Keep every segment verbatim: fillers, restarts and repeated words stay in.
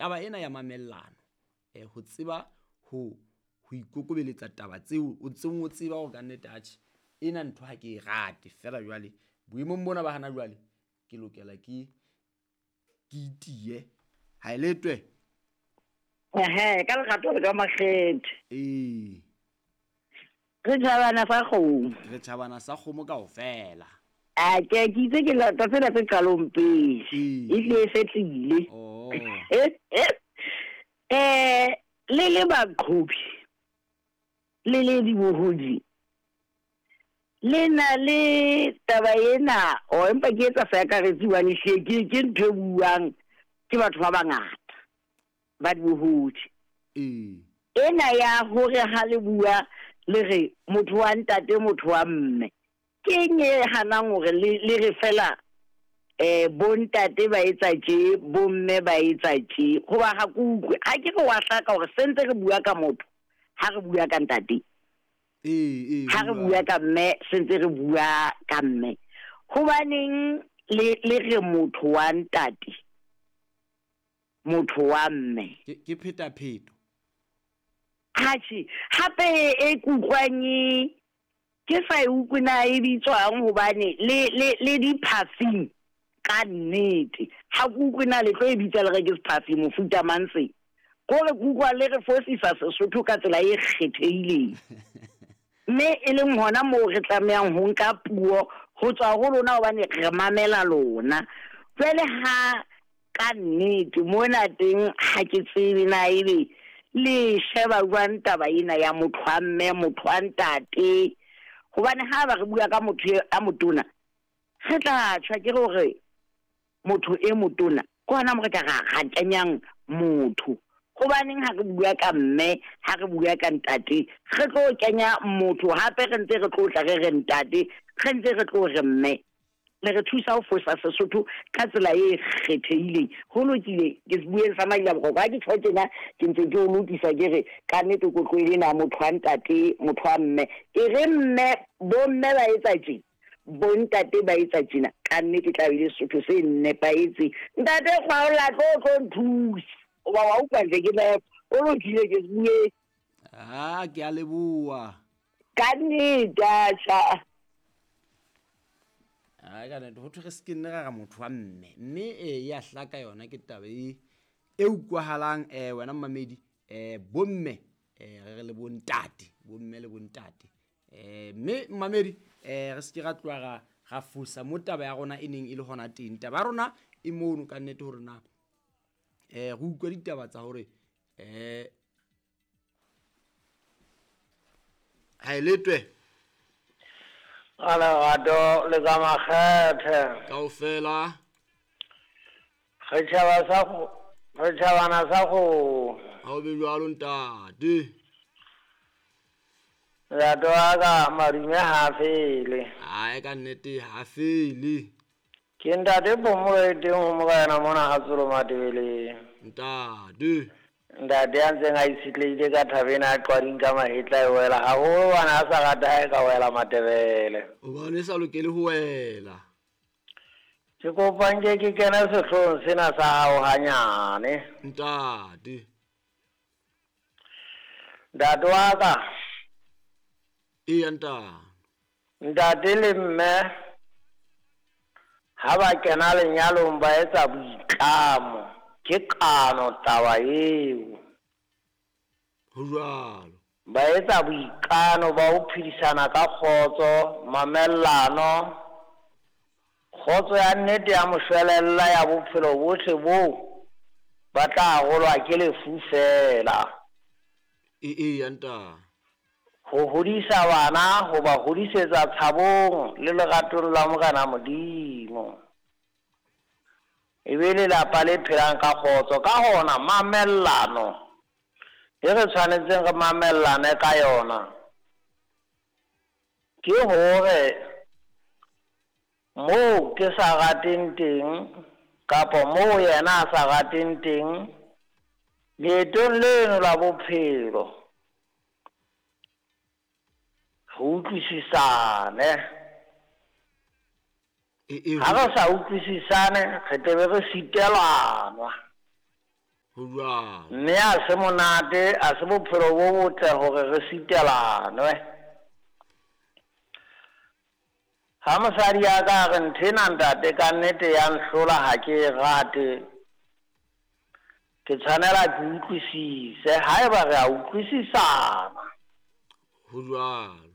Taba ena ya mamellano, eh ho tseba ho ho ikokobeletsa taba tseo o ntseng o tseba hore ka nnete atjhe ena ntho ha ke e rate fela jwale boemong bona ba hana jwale ke lokela ke ke itiye ha e letwe. Ehe, ka lerato le ka makgethe. Ee. Re tjhabana sa kgomo. Re tjhabana sa kgomo kaofela. A ke ke itse ke lata tsena tse qalong pele. Ee. E hlile e fetlile. Oh. Eh, le le baqhobi, le le dibohodi, le na le taba ena, o empa ke etsa seakaretsi hobane hlile ke ke ntho e buang ke batho ba bangata ba dibohodi. Ee. Ena ya hore ha le bua le re motho wa ntate, motho wa mme, ke eng e hanang hore le le re fela eh bontate ba etsa tje, bomme ba etsa tje, hoba ha ke utlwe, ha ke re wa hlaka hore sentse re bua ka motho, ha re bua ka ntate. Ee, ee, Ha re bua. bua ka mme, sentse re bua ka mme. Hobaneng le le re motho wa ntate, motho wa mme? Ke, ke phetapheto. Atjhe, hape e ke utlwang e, ke sa e utlwe na e bitswang hobane le, le, le di-perfume ka nnete. Ha ke utlwe na le tlo e bitsa le re ke se-perfume mofuta mang se. Kore ke utlwa le re fosisa Sesotho ka tsela e kgethehileng. Mme e leng hona moo re tlamehang ho nka puo ho tswa ho lona hobane re mamela lona. Jwale ha ka nnete mona teng ha ke tsebe na ebe le sheba jwang taba ena ya motho wa mme, motho wa ntate. Hobane ha ba re bua ka motho e, a motona, re tla tjha ke hore motho e motona ke hona mo re ka ra, ra kenyang motho. Hobaneng ha re bua ka mme, ha re bua ka ntate, re tlo kenya motho hape re ntse re tlo tla re re ntate, re ntse re tlo re mme. Le re thusa ho fosa Sesotho ka tsela e kgethehileng. Ho lokile, ke se bueng sa Maila Boroko, ha ke tjho tjena, ke ntse ke o lokisa ke re ka nnete ko tlohele na motho wa ntate, motho wa mme. E re mme, bomme ba etsa tje, bontate ba etsa tjena, ka nnete tla be le Sesotho se nepahetseng. Ntate Kgwaolla, tlo tlo nthusa. Hoba wa utlwa ntle ke nepo. O lokile ke se bueng. Ah, ke a leboha. Ka nnete, atjha. Ai, ka nnete, ho thwe re se ke nne ra re motho wa mme. Mme, eh, ya hlaka yona ke taba e, e utlwahalang, eh, wena mmamedi, eh, bomme, eh, re re le bontate, bomme le bontate. Eh, mme mmamedi, eh, re se ke ra tloha ra, ra fosa mo taba ya rona e neng e le hona teng. Taba ya rona e mono ka nnete hore na, eh, re utlwe ditaba tsa hore, eh, ha e letwe. Ka lerato le ka makgethe. Kaofela. Re tjhaba sa go, re tjhabana sa go. Ha o be jwalo ntate. Lerato wa ka madume ha fele. Ai, ka nnete ha fele. Ke ntate Phomolo e teng ho morena mona ha Tsolo Matebeleng. Ntate. Ntate a ntseng a itshetlehile ka thabeng a qwading ka mahetla e wela haholo hobane a sa rate ha e ka wela Matebele. Hobane e sa lokele ho wela. Ke kopa nke ke kene sehloohong sena sa hao hanyane. Ntate. Ntate wa ka. Eya, ntate. Ntate le mme ha ba kena lenyalong ba etsa boitlamo. Ke kano taba eo. Ho jwalo. Ba etsa boikano ba ho phedisana ka kgotso, mamellano. Kgotso ya nnete ya moshwelella ya bophelo bohle boo ba tla arolwa ke lefu fela. E, e, ntate. Ho hodisa bana, ho ba hodisetsa tshabong le leratong la Morena Modimo. E be lelapa le phelang ka kgotso. Ka hona mamellano e re tshwanetseng re mamellane ka yona ke hore moo ke sa rateng teng kapa moo yena a sa rateng teng leetong leno la bophelo re utlwisisane. E, e, Ha re sa utlwisisane re tle be re sitelana. Ho jwalo. Mme a se monate, a se bophelo bo botle hore re sitelanwe. Ha mosadi ya ka re nthena ntate ka nnete ya nhlola ha ke e rate, ke tshwanela ke utlwisise haeba re a utlwisisana. Ho jwalo.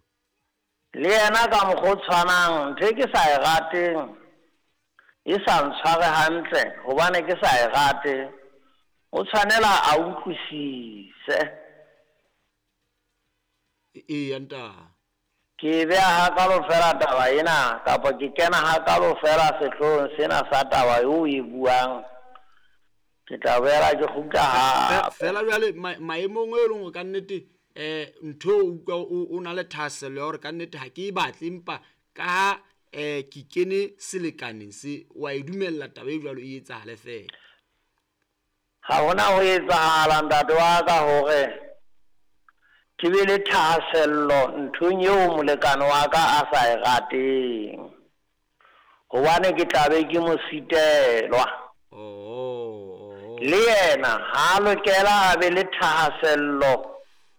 Le yena ka mokgwa o tshwanang, ntho e ke sa e rateng e sa ntshware hantle hobane ke sa e rate, o tshwanela a utlwisise. Eya ntate. Ke beha hakalo fela taba ena, kapa ke kena hakalo fela sehloohong sena sa taba eo e buang. Ke tla boela ke kgutla hape. Fela jwale maemong e leng hore ka nnete eh ntho o utlwa o na le thahasello ya hore ka nnete ha ke e batle, empa ka ha eh ke kene selekaneng se, wa e dumella taba e jwalo e etsahale fela. Ha hona ho etsahala ntate wa ka hore ke be le thahasello nthong eo molekane wa ka a sa e rateng, hobane ke tla be ke mo sitelwa. Oh, le yena ha lokela a be le thahasello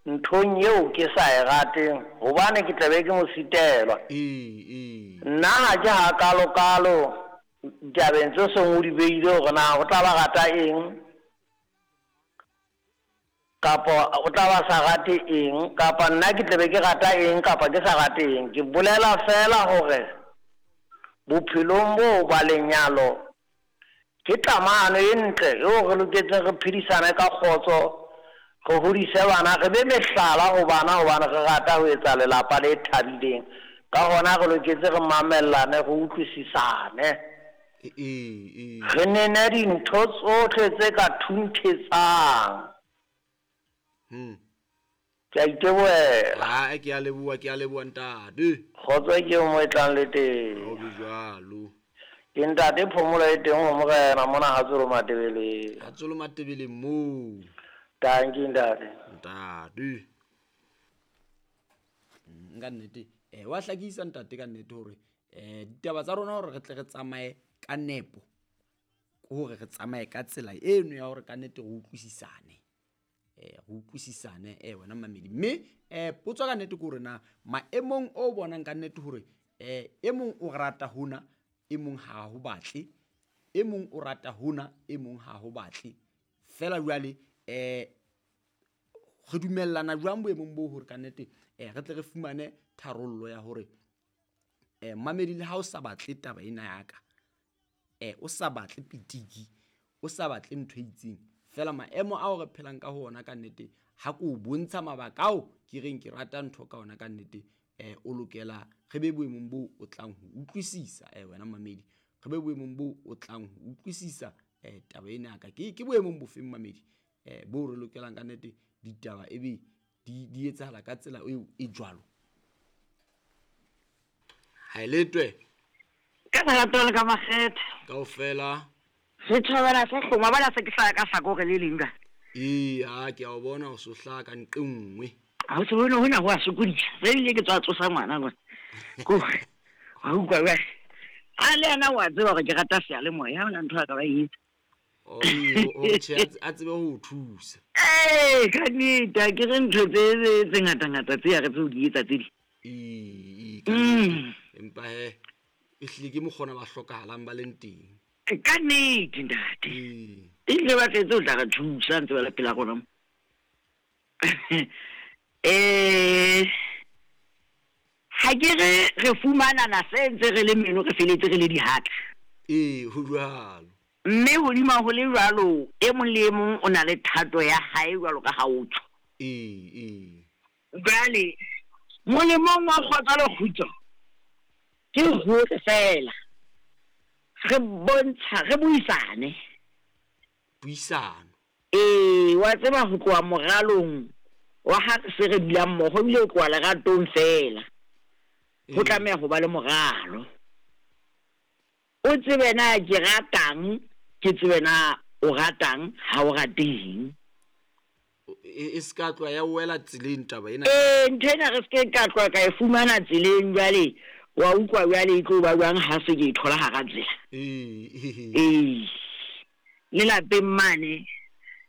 nthong eo ke sa e rateng, hobane ke tla be ke mo sitelwa. Ee, nna ha ke hakalokalo ditabeng tse seng o di beile hore na o tla ba rata eng kapa o tla ba sa rate eng, kapa nna ke tlabe ke rata eng kapa ke sa rate eng. Ke bolela fela hore bophelong bo ba lenyalo ke tlamano e ntle eo re loketseng re phedisane ka kgotso, re hodise bana, re be mehlala ho bana hobane re rata ho etsa lelapa le thabileng. Ka hona re loketse re mamellane, re utlwisisane, re nene dintho tsohle tse ka thunthetsang. Hmm. Ke a itebohela. Ha ke a leboha, ke a leboha ntate. Kgotso ke mo e tlang le teng. Ho be jwalo. Ke ntate phomolo e teng ho morena mona ha Tsolo Matebeleng. Ha Tsolo Matebeleng moo. Tanki ntate. Ntate. Nka nnete eh wa hlakisa ntate ka nnete hore eh ditaba tsa rona hore re tle re tsamaye ka nepo, hore re tsamaye ka tsela eno ya hore ka nnete re utlwisisane. Eh re utlwisisane eh wena mamedi. Mme eh potso ka nnete ke hore na maemong o bonang ka nnete hore eh e mong o rata hona, e mong ha ho batle, e mong o rata hona, e mong ha ho batle. Fela jwale eh re dumellana jwang boemong bo hore ka nnete eh re tle re fumane tharollo ya hore eh mamedi le ha o sa batle taba ena ya ka, eh o sa batle pitiki, o sa batle ntho e itseng, fela maemo ao re phelang ka ho ona ka nnete ha ko bontsha mabaka ao ke reng ke rata ntho ka ona ka nnete, eh o lokela re be boemong bo o tlang ho utlwisisa eh wena mamedi, re be boemong bo o tlang ho utlwisisa eh taba ena ka ke ke boemong bofeng mamedi eh bo re lokelang ka nnete ditaba ebe di di etsahala ka tsela eo e jwalo. Ha eletwe ka lerato le ka makgethe kaofela re thabela se hloma bana se ke hlaya ka hlakore le leng ka. Ee, ha ke a o bona o so hlaya ka nqe nngwe. Ha o se bone hona ho a sokodisa. Re ile ke tswa tsosa ngwana ngwana. Ko ha utlwa jwale. A le yena wa tseba hore ke rata seyalemoya, ha hona ntho a ka ba e etsa. O o tjhe a tsebe ho o thusa. Ee, ka nnete ha ke re ntho tse tse ngata-ngata tse ya re tse o di etsa tse ding. Ee, ka nnete. Empa he ehlile ke mokgona ba hlokahalang ba leng teng. Ka nnete ntate. Ebile ba tletse ho tla re thusa ntse ba le pela rona mo. Eh ha ke re re fumanana se ntse re le meno re feletse re le dihatla. Ee, ho jwalo. Mme hodima ho le jwalo, e mong le e mong o na le thato ya hae jwalo ka ha o tsho. Ee, ee. Jwale molemong wa kgotso le kgutso ke hore fela re bontsha re buisane. Buisano. Ee, wa tseba ho tloha moralong wa ha re se re dula mmoho ebile ho tloha leratong fela. Ho tlameha ho ba le moralo. O tsebe na ke ratang, ke tsebe na o ratang, ha o rateng. E se ka tloha ya wela tseleng taba ena. Ee, ntho ena re se ke ka tloha ka e fumana tseleng jwale. Wa utlwa jwale e tlo ba jwang ha se ke e thola hara tsela. Ee. Ee. Le lapeng mane